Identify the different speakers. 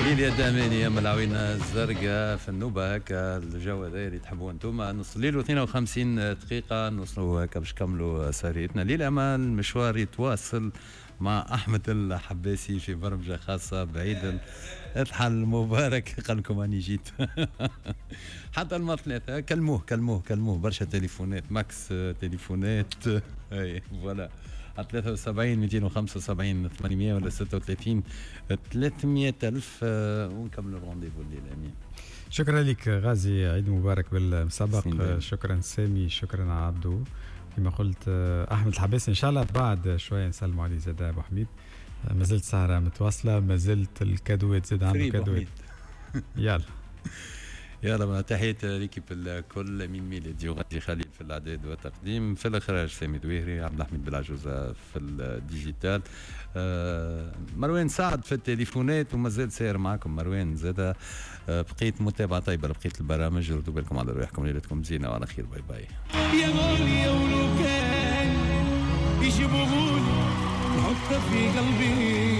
Speaker 1: ليليا داماني يا العوينة الزرقاء في النوبة، هكا الجو هذا اللي تحبوه انتم. نص الليل و52 دقيقة، نوصلوا هكا باش نكملوا سهريتنا الليلة، اما المشوار يتواصل مع احمد الحباسي في برمجة خاصة بعيد الاضحى المبارك. قال لكم اني جيت حتى المرة 3. كلموه كلموه كلموه، برشا تليفونات، max تليفونات. اي voilà، 73 275 800 ولا 36 300 ألف، ونكملوا ال rendez-vous الليلة. امين.
Speaker 2: شكرا لك غازي، عيد مبارك بالمسبق. شكرا سامي، شكرا عبدو. كما قلت احمد الحباسي ان شاء الله بعد شوية نسلموا عليه زاد. ابو حميد، ما زلت سهره متواصله، ما زلت الكادوات زاد عنده كادوات. يلا.
Speaker 1: يلا، تحية l'équipe الكل، امين ميلادي وغازي خليل في الاعداد والتقديم، في الاخراج سامي دويهري، عبد الحميد بالعجوزه في ال digital، مروان سعد في التليفونات ومازال ساير معكم مروان زاد. بقيت متابعه طيبة لبقية البرامج، ردوا بالكم على رواحكم، ليلتكم زينة وعلى خير، bye bye.
Speaker 3: يا غالي ولو كان يجيبوهولي نحطه في قلبي.